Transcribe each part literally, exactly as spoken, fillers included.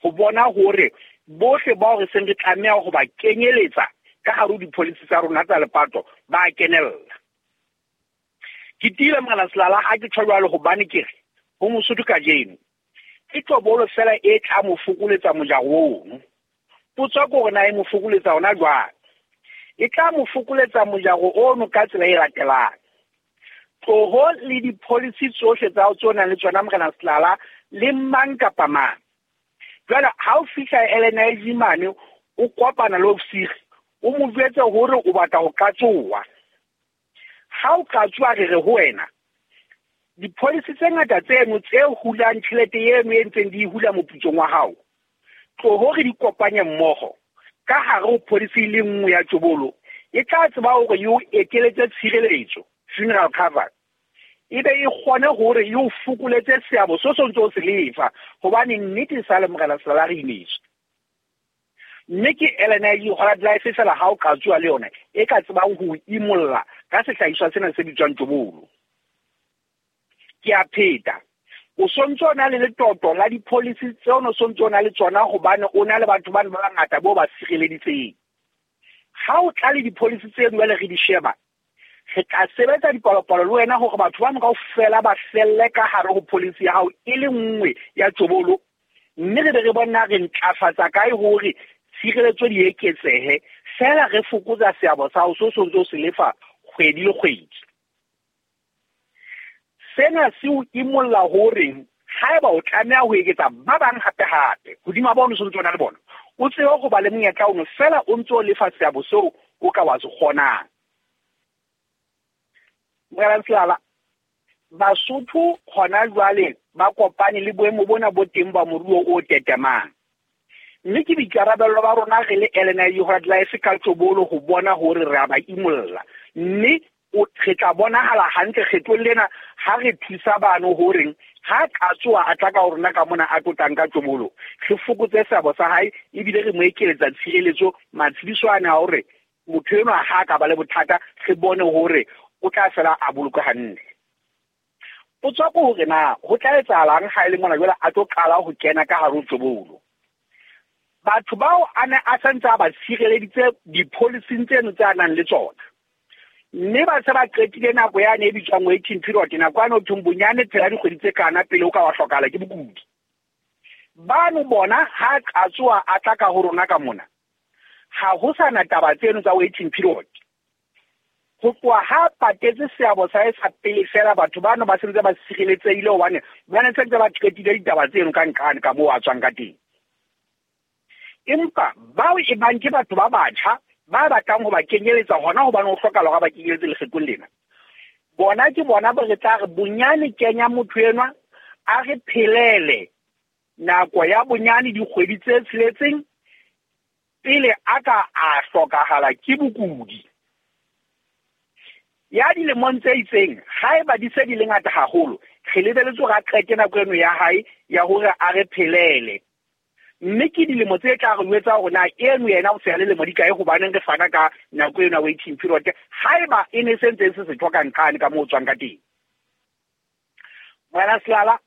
ho bona hore bohle bao re seng re tlameha ho ba kenyeletsa ka hare ho di-policy tsa rona tsa lepato ba kenella. Ke tiile Morena Selala ha ke tjho jwalo hobane ke re ho Mosotho kajeno ke tobolo fela e tla mo fokoletsa mojaro ono. Potso ke hore na e mo fokoletsa hona jwang? E tla mo fokoletsa mojaro ono ka tsela e latelang. Tloho le di-policy tsohle tsa hao tseo nang le tsona Morena Selala le mang kapa mang. Jwale ha o fihla L N I G mane o kopana le ofisiri, o mo jwetse hore o batla ho qatsoha. Ha o qatsoha re re ho wena, di-policy tse ngata tseno tse hulang tjhelete eno e ntseng di hula moputsong wa hao, tloho re di kopanye mmoho ka hare ho policy e le nngwe ya tjobolo e tla tseba hore e o ekeletse tshireletso, funeral cover, e be e kgone hore e o fokoletse seabo se o ntse o se lefa, hobane nnete sa le Morena Selala re imetswe. Mme ke L N I G Hollard Life fela ha o qatsoha le yona e ka tsebang ho imolla ka sehlahiswa sena se bitswang tjobolo. Ke a pheta, o sontso o na le letoto la di-policy tseo o sontso o na le tsona hobane o na le batho bane ba bangata bo ba sireleditseng. Ha o tla le di-policy tseno jwale re di sheba, re tla sebetsa dipalopalo le wena hore batho bano kaofela ba felle ka hare ho policy ya hao e le nngwe ya tjobolo, mme re be re bona re ntlafatsa kae hore tshireletso di eketsehe, fela re fokotsa seabo sa hao se o sontso o se lefa kgwedi le kgwedi. Sena se o imolla hore haeba o tlameha ho eketsa ba bang hape hape hodima bao o sontso o na le bona, o tsebe ho ba le monyetla ono fela o ntso o lefa seabo seo o ka wa se kgonang. Morena Selala, Basotho hona jwale ba kopane le boemo bona bo teng ba moruo o tetemang. Mme ke boikarabello ba rona re le L N I G Hollard Life ka tjobolo ho bona hore re a ba imolla. Mme o re tla bonahala hantle kgetlong lena ha re thusa bano horeng ha qatsoha a tla ka ho rona ka mona a tlotlang ka tjobolo, re fokotse seabo sa hae ebile re mo ekeletsa tshireletso matshediso ane a hore motho enwa ha a ka ba le bothata re bone hore o tla fela a boloke hantle. Potso ke hore na ho tla etsahalang ha e le mona jwale a tlo qala ho kena ka hare ho tjobolo. Batho bao a ne a santse a ba tshireleditse di-policy-ing tseno tse a nang le tsona, mme ba se ba qetile nako yane e bitswang waiting period, nako yane ho thweng bonyane phela dikgwedi tse kana pele o ka wa hlokahala ke bokudi. Bano bona ha qatsoha a tla ka ho rona ka mona, ha ho sa na taba tseno tsa waiting period. Ho tloha ha patetse seabo sa hae sa pele fela, batho bano ba sentse ba sireletsehile hobane ba ne sentse ba qetile ditaba tseno ka nqane ka moo a tswang ka teng. Empa bao e bang ke batho ba batjha ba batlang ho ba kenyeletsa hona hobane ho hlokahala hore ba kenyeletse lekgetlong lena, bona ke bona bo re tla re bonyane kenya motho enwa a re phelele nako ya bonyane dikgwedi tse tsheletseng pele a ka a hlokahala ke bokudi. Ya dilemong tse itseng, haeba di se di le ngata haholo, re lebeletse hore a qete nako eno ya hae ya hore a re phelele. Mme ke dilemo tse tla re jwetsa hore na eno yena o se a le lemo di kae, hobaneng re fana ka nako eno ya waiting period haeba e ne se ntse e se setho ka nqane ka moo o tswang ka teng. Morena Selala,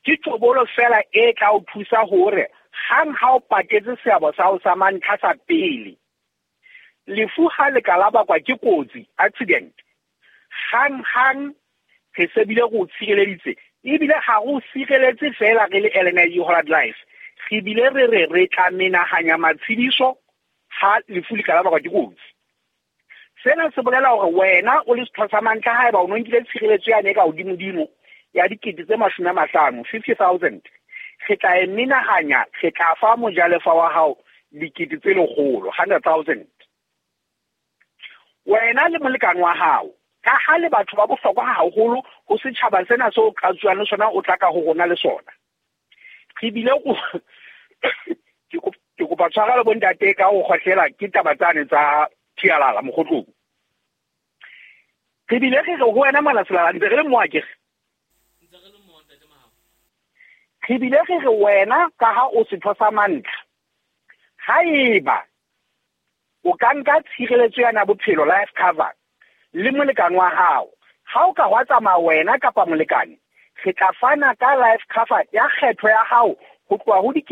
ke tjobolo fela e tla o thusa hore hang ha o patetse seabo sa hao sa mantlha sa pele, lefu ha le ka la bakwa ke kotsi, accident, hang hang re se bile re o tshireleditse, ebile ha re o sireletse fela re le L N I G Hollard Life, re bile re re re tla menahanya matshediso ha lefu le ka la bakwa ke kotsi. Sena se bolela hore wena o le setho sa mantlha, haeba o no nkile tshireletso yane e ka hodimodimo ya dikete tse mashome a mahlano, fifty thousand, re tla e menahanya, re tla fa mojalefa wa hao dikete tse lekgolo, hundred thousand. Wena le molekane wa hao, ka ha le batho ba bohlokwa haholo ho setjhaba sena seo o qatsuwang le sona, o tla ka ho rona le sona. Re bile go ke kopa tshwarelo bontate ka ho kgohlela ke taba tsane tsa thialala mokgotlong. Re bile re re ho wena Morena Selala, ntse re le mo akere? Ntse re le mo, ntate Mahao. Re bile re re wena ka ha o setho sa mantlha, haeba o ka nka tshireletso yana ya bophelo, life cover, le molekane wa hao, ha o ka hwa tsamaya wena kapa molekane, re tla fana ka life cover ya kgetho ya hao ho tloha ho dikete